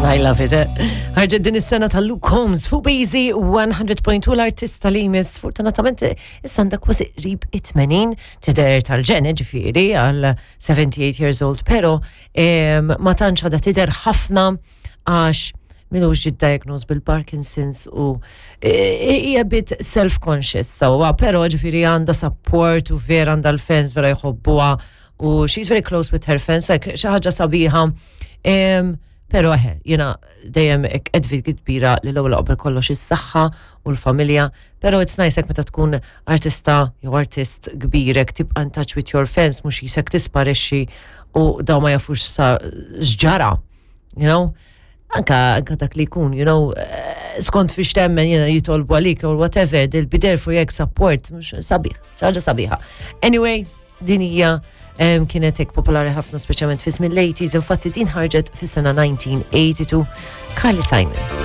I love it. Eh? Ħarġet din is-sena ta' Luke Combs fuq Easy 100.2 l-artista li jmiss fortunatament issa għandha kważi qrib it-80 tidher tal-ġene ġifieri għal 78 years old, pero ma tantx għadha tidher ħafna għax minux ġiet diagnosed bil-Parkinson's u e, e, hija bit self-conscious sewwa, pero ġifieri għandha support u vera għandha l-fans vera jħobbuha u she's very close with her fans, like xi ħaġa sabiħa. Pero eħe, jena dejjem edvi kbira li l-ewwel qabel kollox is-saħħa u l-familja, pero it's nice hekk meta tkun artista jew artist kbirek tibqa' in touch with your fans mhux jisek tisparixxi u daw ma jafux sa x'ġara, you know? Anka, anka dak li jkun, you know, eh, skont fiex temmen jena jitolbu għalik or whatever, they'll be there for you support, mhux sabiħ, xi ħaġa sabiħa. Anyway, din hija kienet hekk popolari ħafna speċjalment fi żmien l-80s, infatti din ħarġet fis-sena 1982 Carly Simon.